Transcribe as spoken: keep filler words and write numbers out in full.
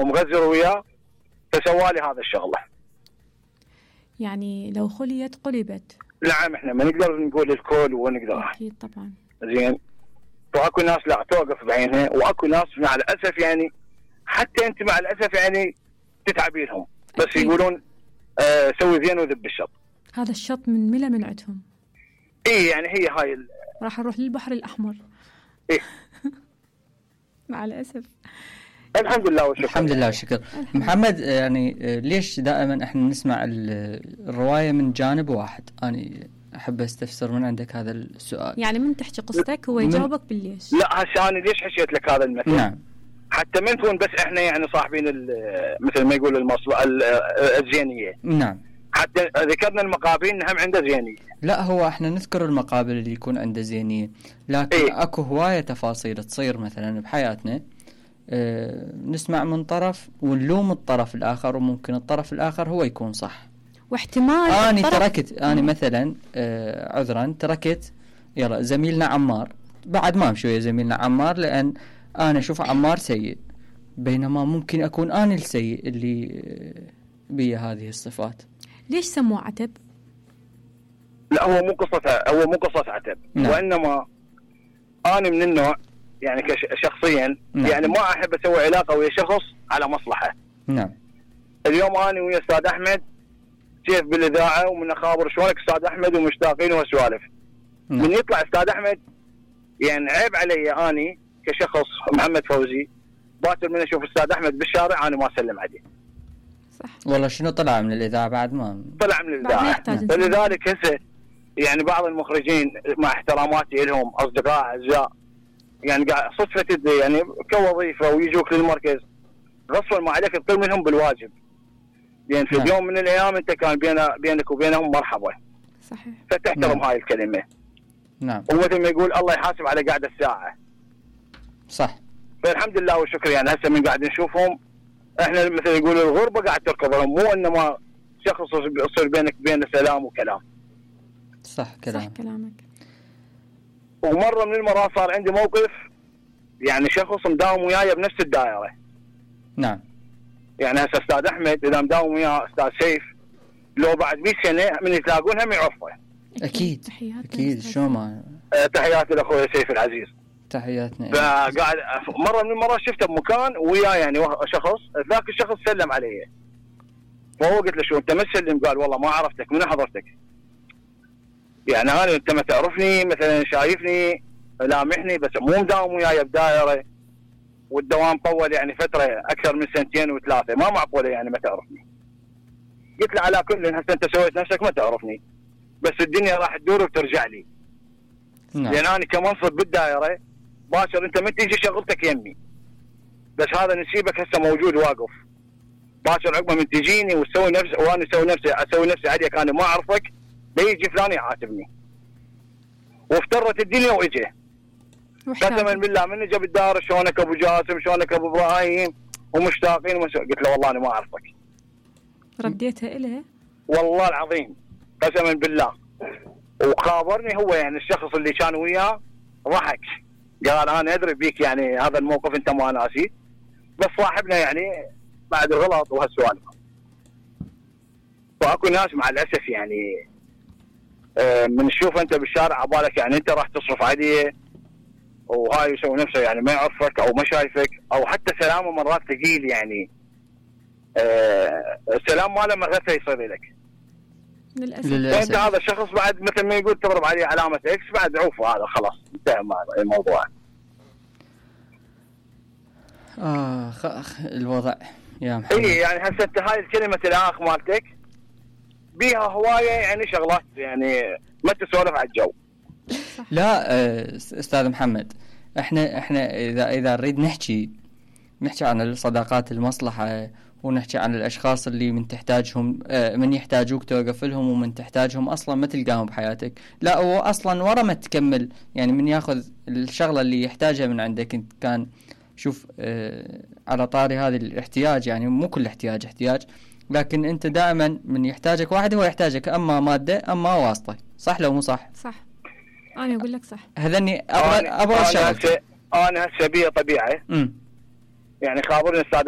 ومغزر وياه، فسوالي هذا الشغله. يعني لو خليت قلبت. نعم، احنا ما نقدر نقول الكل ونقدر. اكيد طبعا. زين. واكو ناس لا توقف بعينها، واكو ناس مع الاسف يعني حتى انت مع الاسف يعني تتعبي لهم، بس أكيد. يقولون آه سوي زين وذب الشط. هذا الشط من ملا من عندهم. ايه يعني هي هاي ال... راح نروح للبحر الاحمر. ايه مع الاسف. الحمد لله والشكر. الحمد لله والشكر. محمد، يعني ليش دائما احنا نسمع الروايه من جانب واحد؟ انا احب استفسر من عندك هذا السؤال. يعني من تحكي قصتك هو يجاوبك بالليش. لا هسه انا ليش حكيت لك هذا المثل؟ نعم. حتى من تكون بس احنا يعني صاحبين مثل ما يقول المصلحه الزينيه. نعم. حتى ذكرنا المقابل هم عنده زينيه. لا، هو احنا نذكر المقابل اللي يكون عنده زينيه، لكن إيه؟ اكو هوايه تفاصيل تصير مثلا بحياتنا، اه نسمع من طرف ونلوم الطرف الاخر، وممكن الطرف الاخر هو يكون صح. واحتمال انا تركت انا مثلا اه عذرا تركت يلا زميلنا عمار، بعد ما شويه زميلنا عمار، لان انا اشوف عمار سيء، بينما ممكن اكون انا السيء اللي بي هذه الصفات. ليش سموه عتب؟ لا هو مو قصة هو مو قصة عتب. نعم. وإنما أنا من النوع يعني كشخصيا نعم. يعني ما أحب أسوي علاقة ويا شخص على مصلحة. نعم. اليوم أنا ويا أستاذ أحمد كيف بالإذاعة ومن أخابر شلونك أستاذ أحمد ومشتاقين وسوالف. نعم. من يطلع أستاذ أحمد يعني عيب علي أنا كشخص محمد فوزي باكر من أشوف أستاذ أحمد بالشارع أنا ما أسلم عليه. صح. والله شنو طلع من الإذاعة بعد ما طلع من الإذاعة. فلذلك هسه يعني بعض المخرجين مع احتراماتي لهم أصدقاء أعزاء يعني قاعد صدفة يعني كوظيفة ويجوك للمركز غصبا ما عليك تطير منهم بالواجب، لأن يعني في نعم. اليوم من الأيام أنت كان بين بينك وبينهم مرحبا. صحيح. فتحترم نعم. هاي الكلمة. نعم. ومثل ما يقول الله يحاسب على قاعدة الساعة. صح. فالحمد لله والشكر يعني هسه من قاعد نشوفهم احنا مثل يقولوا الغربة قاعد تركضهم، مو انما شخص يصير بينك بين سلام وكلام. صح كلام. صح كلامك. ومرة من المرات صار عندي موقف يعني شخص مداوم وياي بنفس الدائرة. نعم. يعني هسه استاذ احمد اذا مداوم وياه استاذ سيف لو بعد مئة سنة من يتلاقون هم يعرفه. اكيد. اكيد شو ما أه تحياتي لاخوي سيف العزيز. تحياتنا. فقاعد مرة من المرات شفته بمكان وياه يعني شخص، ذاك الشخص سلم علي، فهو قلت له شو انت ما تسلم؟ قال والله ما عرفتك، من حضرتك؟ يعني انا انت ما تعرفني مثلا، شايفني لامحني بس مو مداوم وياي بدائره، والدوام طول يعني فتره اكثر من سنتين وثلاثه، ما معقوله يعني ما تعرفني. قلت له على كل هسه انت سويت نفسك ما تعرفني، بس الدنيا راح تدور وترجع لي. نعم. لان انا كمنصب بالدائره باشر انت ما تيجي شغلتك يمي، بس هذا نسيبك هسه موجود واقف باشر عقبه من تجيني وتسوي نفس وانا اسوي نفسي اسوي نفسي عليك انا ما اعرفك، لا يجي فلان يعاتبني. وافترت الدنيا واجى قسما بالله من اجى بالدار شلونك ابو جاسم شلونك ابو ابراهيم ومشتاقين ومش... قلت له والله انا ما اعرفك. رديتها إليه؟ والله العظيم قسما بالله. وخابرني هو يعني الشخص اللي كان وياه ضحك قال انا ادري بيك يعني هذا الموقف انت ما ناسيه، بس صاحبنا يعني بعد الغلط وهالسوالف. واكو ناس مع الاسف يعني آه من تشوف انت بالشارع عبالك يعني انت راح تصرف عليه وهاي يسوي نفسه يعني ما يعرفك او ما شايفك، او حتى سلامه مرات ثقيل يعني آه السلام ماله مرات يصير لك للاسف. انت هذا الشخص بعد مثل ما يقول تضرب عليه علامه اكس بعد عوفه، هذا خلاص انتهى الموضوع. اخ اخ الوضع يا محمد. اي يعني هسه انت هاي الكلمه الاخ مالتك بيها هوايه يعني شغلات يعني ما تسولف على الجو. لا استاذ محمد، احنا احنا اذا اذا نريد نحكي نحكي عن الصداقات المصلحه، ونحكي عن الاشخاص اللي من تحتاجهم من يحتاجوك توقف لهم، ومن تحتاجهم اصلا ما تلقاهم بحياتك. لا هو اصلا ورا ما تكمل يعني من ياخذ الشغله اللي يحتاجها من عندك انت. كان شوف اه على طاري هذا الاحتياج، يعني مو كل احتياج احتياج، لكن انت دائما من يحتاجك واحد هو يحتاجك اما ماده اما واسطه. صح لو مو صح؟ صح. انا اقول لك صح. هذني ابغى ابغى انا هسه انا هسه بيه طبيعه. امم يعني خابرني استاذ